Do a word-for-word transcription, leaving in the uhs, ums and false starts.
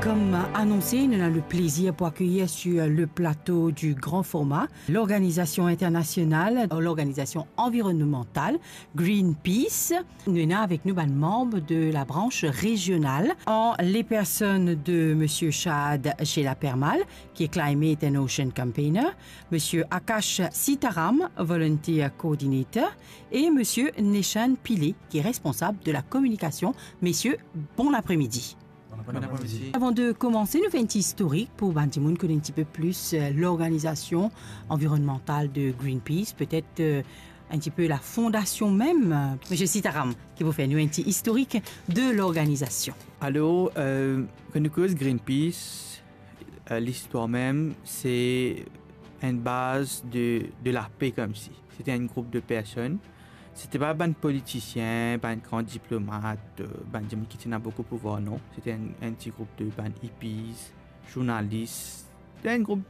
Comme annoncé, nous avons le plaisir pour accueillir sur le plateau du grand format l'organisation internationale, l'organisation environnementale Greenpeace. Nous avons avec nous un membre de la branche régionale, en les personnes de monsieur Shahad Shela Permal, qui est Climate and Ocean Campaigner, monsieur Akash Sitaram, Volunteer Coordinator, et monsieur Neshan Pillay, qui est responsable de la communication. Messieurs, bon après-midi. Bon après-midi. Avant de commencer, nous faisons un petit historique pour bann dimoun connaître un petit peu plus, euh, l'organisation environnementale de Greenpeace, peut-être, euh, un petit peu la fondation même. Monsieur Sitaram, qui vous fait nous un petit historique de l'organisation. Alors, euh, quand nous cause Greenpeace, euh, l'histoire même, c'est une base de, de la paix comme si. C'était un groupe de personnes. C'était pas bann politisien, bann gran diplomat, euh, bann dimoun ki ti ena boukou pouvwar, non. C'était un, un petit groupe de bann hippies, journalistes. C'était un groupe